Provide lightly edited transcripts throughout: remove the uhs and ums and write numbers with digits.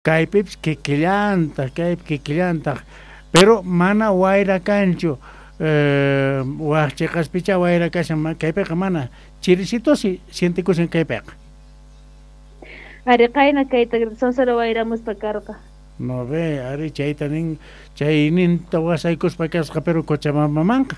Kaypipis kikillantaq, kaypi kikillantaq, pero mana wayra kanchu. Waj cheqaspichá wayra kashan, kaypiqa mana. Chirisitosi sientekushan kaypiqa. Ari, qayna kayta sonsoro wayramuspa karqa. No ve, ari chayta nin, chayninta wasaykuspa kasqa, pero Cochabambamanqa.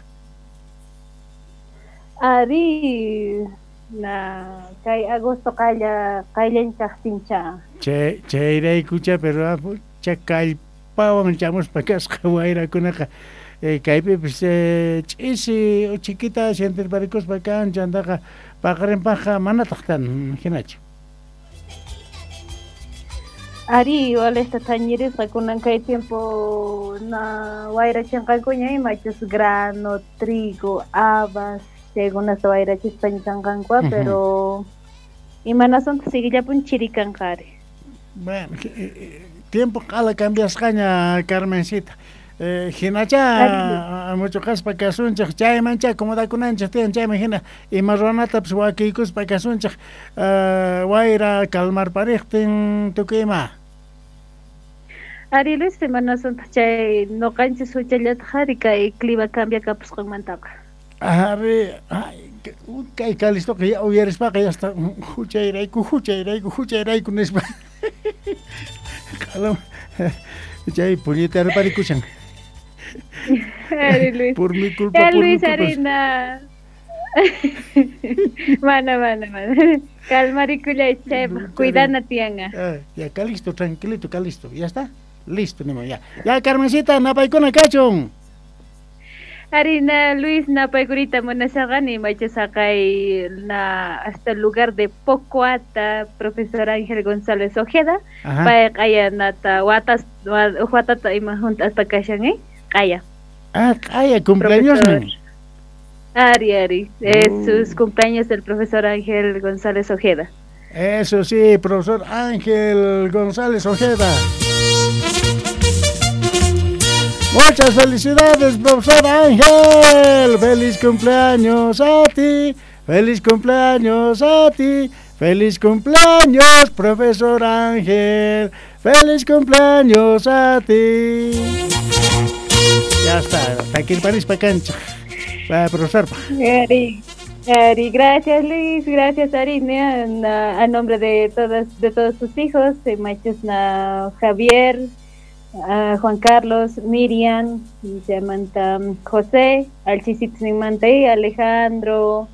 Ari, na kay agosto qaylla qayllan kaqtincha. Chay chayraykucha, pero cha kallpawan chamuspa kasqa wayrakunaqa. Kaypipis ch'isi uchikita sientirparikuspa kan, chantaqa paqarinpaqqa manataq tan hinachu. Ari, walejta thañirisqa kunan kay tiempo na wayrachinqankuña imachus grano, trigo, habas, chaykunata wayrachispa kanqanku, pero imanasunta siguillapun chiri kanqa ari. Bueno, tiempo q'ala cambiasqaña, Carmencita. Hinachá muchuqaspa kasunchik, chaymanchá acomodakunanchik tiyan, chayman hina ima ruwanatapis wakiykuspa kasunchik, wayra calmarpariqtin tukuy ima. Ari, Luis, imanasunta chay noqanchis huchallataq ari kay clima cambiakapusqanmantaqa. Ari, kay Calistoqa ya uyarispaqa ya está huchayrayku, huchayrayku, huchayrayku nispa. Q'alam chay puñetarparikushan. Ari, Luis. Por mi culpa, por Luis, mi culpa. Arina. Mana, mana, mana. Calmarikullay, chaypaq cuidana tiyanqa. Ya, Calisto, tranquilito, Calisto. ¿Ya está? Listo, nimo, ya. Ya, Carmencita, napaykuna kachun. Arina, Luis, napaykurita munasaqani machasaqay na hasta el lugar de Pocoata, profesor Ángel González Ojeda. Pay q'aya nata watas watata ima hunt'aspa kashan, q'aya. Ah, q'aya cumpleaños. Ari, ari, es sus cumpleaños del profesor Ángel González Ojeda. Eso sí, profesor Ángel González Ojeda. Muchas felicidades, profesor Ángel. Feliz cumpleaños a ti. Feliz cumpleaños a ti. Feliz cumpleaños, profesor Ángel. Feliz cumpleaños a ti. Ya está, takirparispa cancha. Va, profesor. Ari, Ari, gracias, Luis, gracias, Arina, a nombre de todos tus hijos, machos na Javier, Juan Carlos, Miriam, Samantha, José, Alchisitzinmanta, Alejandro,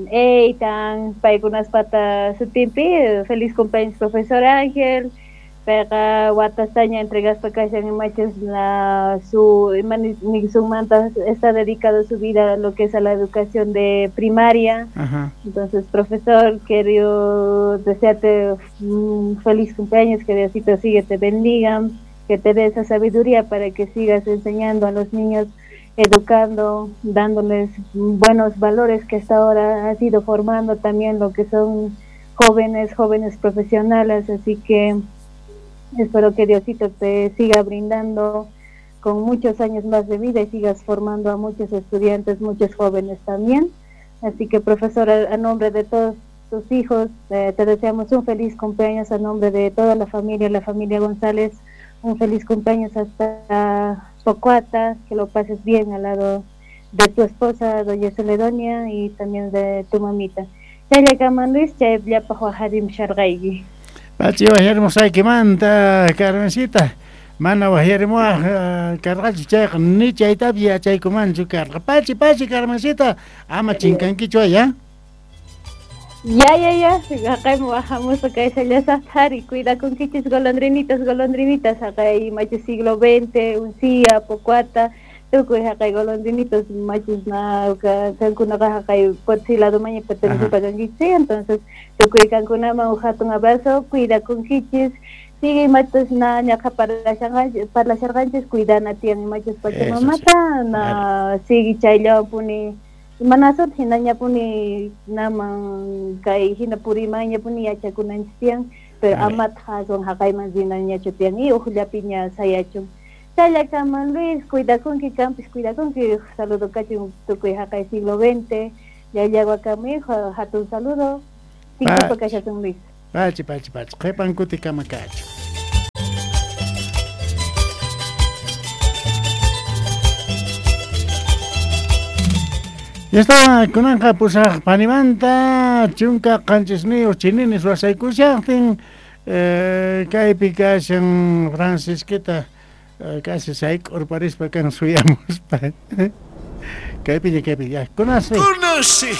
Eitan, paykunas pata sutimpi, feliz cumpleaños, profesor Ángel, pega watastaña entregaspa kashan machos na su manta está dedicado su vida a lo que es a la educación de primaria. Ajá. Entonces, profesor, quiero desearte un feliz cumpleaños, que Diosito sigue, te bendiga, que te dé esa sabiduría para que sigas enseñando a los niños, educando, dándoles buenos valores que hasta ahora has ido formando también lo que son jóvenes, jóvenes profesionales, así que espero que Diosito te siga brindando con muchos años más de vida y sigas formando a muchos estudiantes, muchos jóvenes también. Así que, profesor, a nombre de todos tus hijos, te deseamos un feliz cumpleaños a nombre de toda la familia González, un feliz cumpleaños hasta Pocoata, que lo pases bien al lado de tu esposa, doña Celedonia, y también de tu mamita. Chayllakaman, Luis, chayllapaj wajarim sharqayki. Pachi wajarimusqaykimanta, Carmencita, mana wajarimuwaj karqachu chayqa ni chaytapi yachaykumanchu karqa. Pachi, pachi, Carmencita, ama chinkankichu ya. Ya, ya, ya, haqaymi wajamusqa kaysallasaqta ari, cuidakunkichis golondrinitas, golondrinitas, haqay machus siglo XX, Uncía, Pocoata, tukuy haqay golondrinitos machus na kankunaqa haqay Potosí ladomaña pertenecipa kankichis, entonces tukuy kankunaman uj hatun abrazo, cuidakunkichis, sigue machus na ñaqa parlasharqanchis, cuidana tiyan machus pachamamata, na sigue chayllawapuni. Manasut hinañapuni naman kay hinapurimanñapuni yachakunanchis tiyan, pero amat aswan haqayman rinañachu tiyan y uqllapiña sayachun. Chayllakaman, Luis, cuidakunki, kampis cuidakunki, saludo kachun tukuy haqay siglo XX, llallawakami, hatun saludo, tinkupa kashasun, Luis. Pachi, pachi, pachi, qhipan kutikama kachu. Ya está, kunanqa pusaj panimanta 17 chininis wasaykushajtin kaypi kashan Francisquita casi sayk'urparispa kan suyamuspa. Kaypiña, kaypi, ya, kunasi. Kunasi.